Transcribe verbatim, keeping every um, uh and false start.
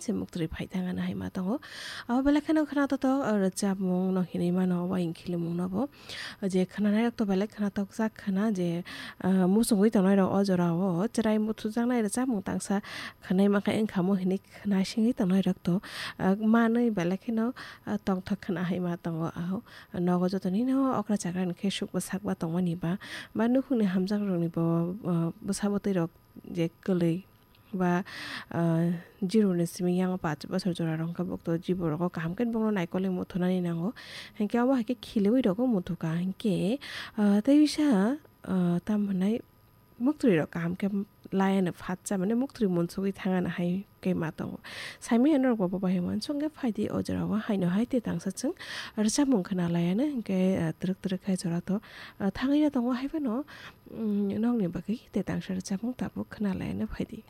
se muktwi phai thangana hai ma tongo. Abo belai kheno khwnatok tok, ah, rwchapmung no hinwi mano, waing khilimung no bo. Je khwnanai rok to belai khwnatok jak khwna je, ah, muchungwi tongnai rok o jora o chwrai muthujaknai rwchapmung tangsa khwnai mankha wngkha mo hinwi khwna singwi tongnai rok to, ah, manwi belai kheno, ah, tongthok khwna hai ma tongo. Aho nogo joto ni no okra chakra ni khe suk bwsak ba tongmani ba, ba nukhungni hamjak rok ni bo, ah, bwsa bwtwi rok je kwlwi ba, ah, zero ni simi yang paanch bosor jora rok hwnkhe bokto jibo rogo kaham khe bokno naikolwi muthunani nango. Hinkhe omo hai khe khiliwi rogo muthuka hinkhe, ah, tei bisa, ah, tam hwnai muktwi rok kaham khe laiano phatsa mane muktwi munsugwi thangana hai khe ma tongo. Saimanya norok bo bobai hwnma songkhe phaidi o jora o haino hai tei tangsa chwng rwchapmung khwna laiano hinkhe, ah, twrwk twrwk hai jora to, ah, thangwi no tongo hai phano, mm, nokni bagwi tei tangsa rwchapmung tabuk khwna laiano phaidi.